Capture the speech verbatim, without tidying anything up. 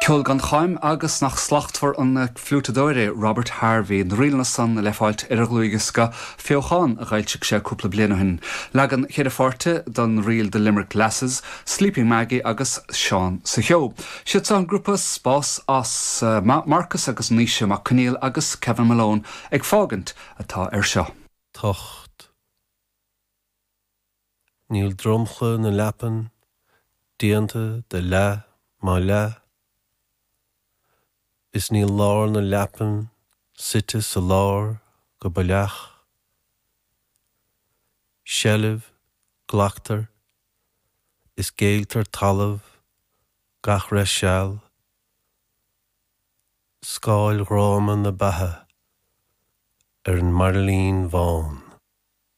Ceol gan cháim agus nach slachtmhar an fliútadóir é Robert Harvey, na ríleanna san le fáilt ar a dhlúthdhiosca Feochán a d'fhoilsigh sé cúpla bliain ó shin. Leagan ceithre pháirte den ríl The Limerick Lasses, Sleeping Maggie agus Seán sa Cheo. Siad an grúpa Spás as uh, Marcus agus Naoise Mac Conghail agus Kevin Malone ag fágaint atá ar seo. Tocht. Níl dromchla na leapan déanta de leath má leath is níl lár na leapan suite sa lár go baileach. Seilbh glactar is géilltear talamh gach re seal, Scáil ghráma na beatha ar an mbairillín bhán.